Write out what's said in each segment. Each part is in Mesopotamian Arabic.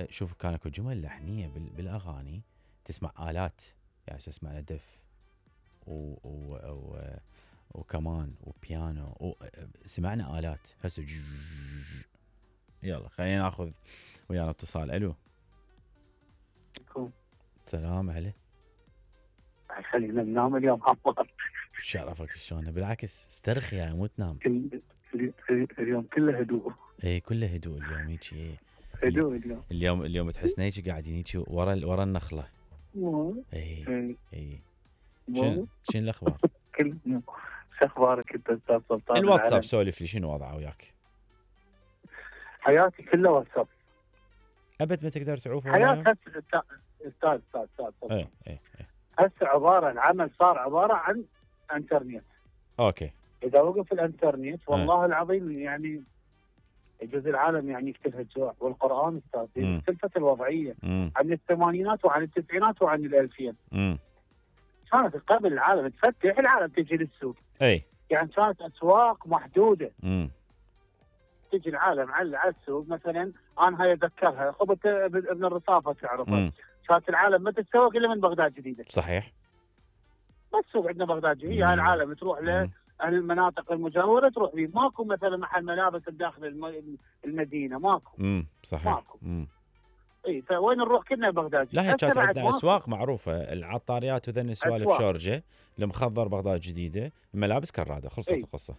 شوف كان اكو جمل لحنيه بالاغاني تسمع الات، يعني تسمع دف وكمان وبيانو سمعنا الات هسه. يلا خلينا ناخذ ويانا اتصال. الو سلام عليك. خلينا ننام اليوم عمار. شرفك شلونه؟ بالعكس استرخي يا مو تنام. اليوم كله هدوء. اي كله هدوء اليوم هيك. هدوء اليوم تحسنا هيك قاعدين هيك ورا النخله. اي شنو الاخبار؟ شو اخبارك انت استاذ سلطان؟ الواتساب سولف لي شنو وضعه وياك؟ حياتي كلها واتساب. ابد ما تقدر تعوف حياتي استاذ اي هسه العمل صار عباره عن انترنت. اوكي. اذا وقف الانترنت والله العظيم يعني يجوز العالم يعني يقتلها الجوع. والقران استاذ اختلفت الوضعيه عن الثمانينات وعن التسعينات وعن الالفين. كانت قبل العالم تفتح العالم تجي للسوق. اي يعني كانت اسواق محدوده. تجي العالم على السوق مثلا. انا هاي اتذكرها خبط ابن الرصافه تعرفها. كانت العالم ما تتسوق الا من بغداد جديده. صحيح. ما تسوق عندنا بغداد جديده. هاي العالم تروح المناطق المجاوره تروح فيه. ماكو مثلا محل ملابس بداخل المدينه ماكو. صحيح. ماكو. اي فوين نروح كلنا بغداد. لا هي كانت عندنا اسواق معروفه، العطاريات وذن السوالف شورجه، المخضر بغداد جديده، الملابس كراده، خلصت القصه.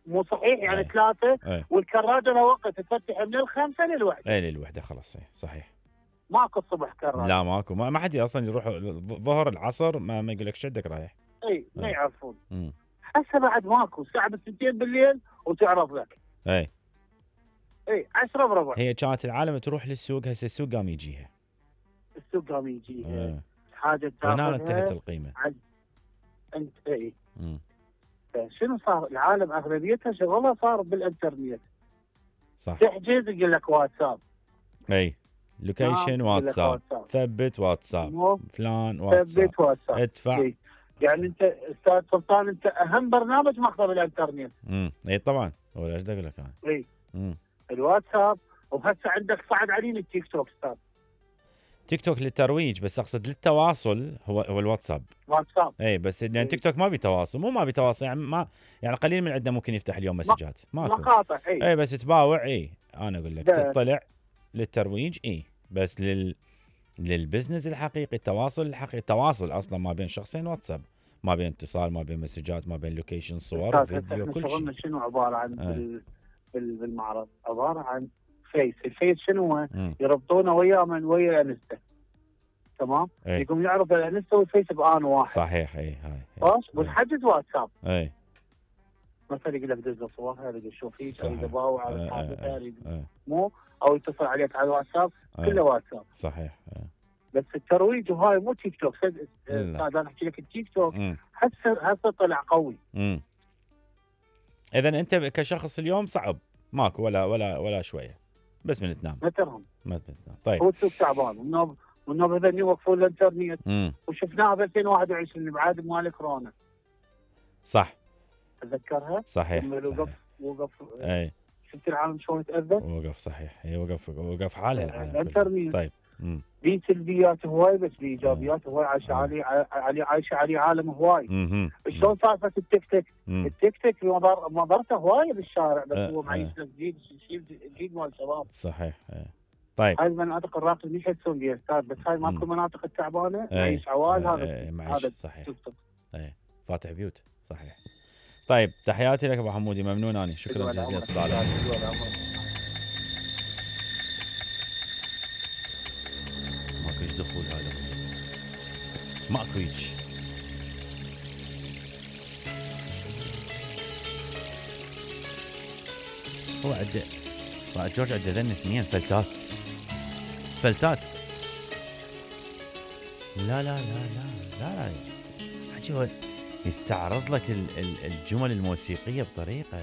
مو صحيح يعني 3 والكراده له وقت تفتح من 5 للوحده. اي للوحده خلاص. صحيح. ماكو الصبح كراده. لا ماكو، ما حد اصلا يروح الظهر العصر ما يقول لك شدك رايح. اي ما يعرفون. هسه بعد ماكو. الساعه 2 بالليل وتعرف لك. اي 10 بربع. هي كانت العالم تروح للسوق، هسه السوق قام يجيها. السوق قام يجيها. حاجه تاخذها. هنا انتهت القيمه. انت شنو صار؟ العالم اغلبيتها شغلها صار بالانترنت. صح. تحجز يقول لك واتساب. اي لوكيشن واتساب. ثبت واتساب. فلان واتساب. ثبت واتساب. ادفع. يعني انت استاذ سلطان انت اهم برنامج ماخذه بالانترنت. اي طبعا ولا ايش اقول لك انا. اي الواتساب. وهسه عندك صعد علينا التيك توك استاذ. تيك توك للترويج، بس اقصد للتواصل هو الواتساب. واتساب. اي بس يعني تيك توك ما بيتواصل، ما بيتواصل يعني قليل من عندنا ممكن يفتح اليوم مسجات. ماكو. مقاطع. اي بس تباوع. انا اقول لك تطلع للترويج. بس للبزنس الحقيقي، التواصل الحقيقي، التواصل اصلا ما بين شخصين واتساب، ما بين اتصال، ما بين مسجات، ما بين لوكيشن، صور، فيديو، كل شيء. شنو عباره عن بالمعرض؟ عباره عن الفيس شنو هو؟ يربطونه ويا ويا الانستا. تمام. يقوم يعرف الانستا والفيس بآن واحد. صحيح. هاي والحجز واتساب. مثلا يقول لك دز صور، هذا شوف فيك، اريد اباوع على حاجه مو او يتصل عليك على الواتساب. كله واتساب. صحيح. بس الترويج وهاي مو تيك توك. انا احكي لك التيك توك هسه طلع قوي. اذا انت كشخص اليوم صعب ماكو ولا شويه، بس من تنام. ما تنام. طيب. هو السوق تعبان والنوب هذول يوقفون الانترنت. وشفناها ب 2021 بعد مال كورونا. صح. تذكرها؟ صحيح. وقف. شفت العالم شلون تأذى؟ وقف. صحيح. هي وقف حالها العالم. الانترنت. طيب. في سلبيات هواي بس في ايجابيات هواي. عايشه عليه عالم هواي. شلون سالفه التيك توك؟ التيك توك مضرته هواي بالشارع، بس هو معيش لك جديد مال الشباب. صحيح. طيب هاي المناطق الراقيه مش يحسون بها استاذ، بس هاي ماكو المناطق التعبانه معيش عوال. هذا صحيح. فاتح بيوت. صحيح. طيب تحياتي لك ابو حمودي، ممنون اني، شكرا جزيلا اتصالك. ماكوش دخول هذا، ماكوش. هو عنده جورج عنده ذن 2 فلتات. لا حكي هو يستعرض لك الجمل الموسيقيه بطريقه